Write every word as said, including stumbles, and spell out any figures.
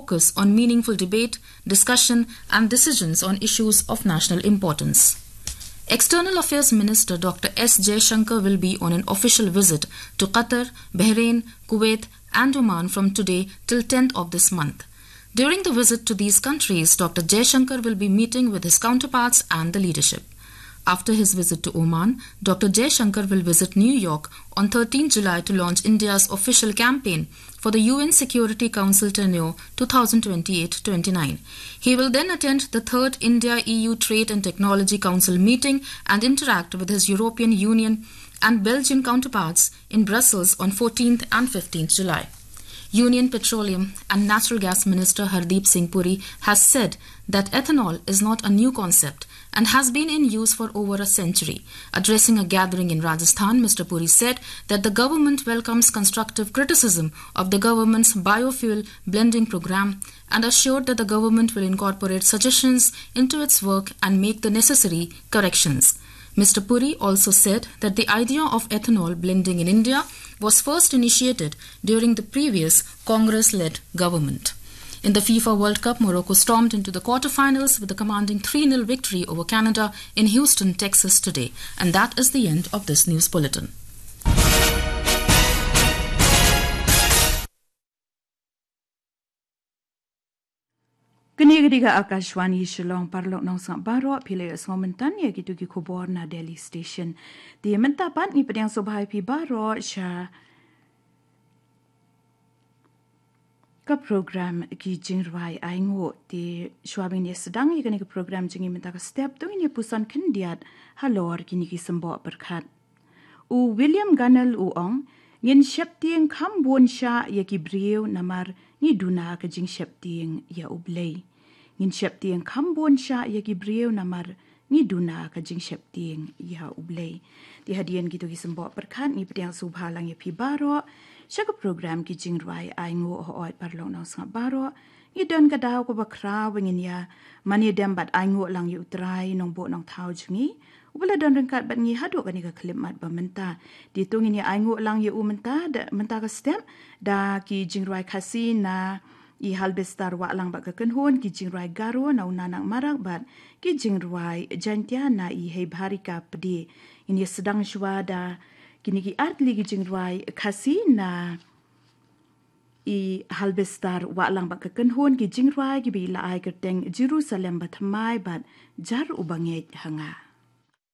focus on meaningful debate, discussion, and decisions on issues of national importance. External Affairs Minister Doctor S Jaishankar will be on an official visit to Qatar, Bahrain, Kuwait, and Oman from today till tenth of this month. During the visit to these countries, Doctor Jaishankar will be meeting with his counterparts and the leadership. After his visit to Oman, Doctor Jaishankar will visit New York on thirteenth July to launch India's official campaign for the U N Security Council tenure twenty twenty-eight twenty-nine. He will then attend the third India E U Trade and Technology Council meeting and interact with his European Union and Belgian counterparts in Brussels on fourteenth and fifteenth July. Union Petroleum and Natural Gas Minister Hardeep Singh Puri has said that ethanol is not a new concept and has been in use for over a century. Addressing a gathering in Rajasthan, Mister Puri said that the government welcomes constructive criticism of the government's biofuel blending program and assured that the government will incorporate suggestions into its work and make the necessary corrections. Mister Puri also said that the idea of ethanol blending in India was first initiated during the previous Congress-led government. In the FIFA World Cup, Morocco stormed into the quarterfinals with a commanding three nil victory over Canada in Houston, Texas today. And that is the end of this news bulletin. Kane ka dei ka Akashvani Shillong. Paralok nongsngap baroh, phi la ïohsngew mynta ïa kito ki khubor na Delhi Station. Te mynta pat ngi pdiang sngewbha ïa phi baroh sha ka program Ki Jingrwai Ainguh. Te shuwa ban ïa sdang ïa kane ka program jong ngi mynta ka step, to ngin ïa puson khyndiat halor kine ki symboh pyrkhat. U William Gurnall u ong, ngin sheptieng kham bun shah ïa ki briew namar ngi duna ka jingsheptieng ïa U Blei. Ngin sheptieng kham bun shah ïa ki briew namar ngi duna ka jingsheptieng ïa U Blei. Te hadien kito ki symboh pyrkhat ngi pdiang sngewbha lang ïa phi baroh sha ka program Ki Jingrwai Ainguh. Hooid paralok nongsngap baroh, ngi don ka daw kaba khraw ba ngin ïa mane dem bad ainguh lang ïa U Trai Nongbuh Nongthaw jong ngi, uba la don ryngkat bad ngi haduh kane ka khyllipmat ba mynta. Te to ngin ïa ainguh lang ïa u mynta, da, mynta ka step da ki jingrwai Khasi na i Halbestar Wahlang bad ka Kynhun, ki jingrwai Garo na u Nanak Marak bad ki jingrwai Jaintia na i Heibharika Pde. Ngin ïa sdang shuwa da kine ki artylli ki jingrwai Khasi na i Halbestar Wahlang bad ka Kynhun, ki jingrwai kiba la ai kyrteng Jerusalem Bathymmai bad Jar Uba Ngeit Ha Nga.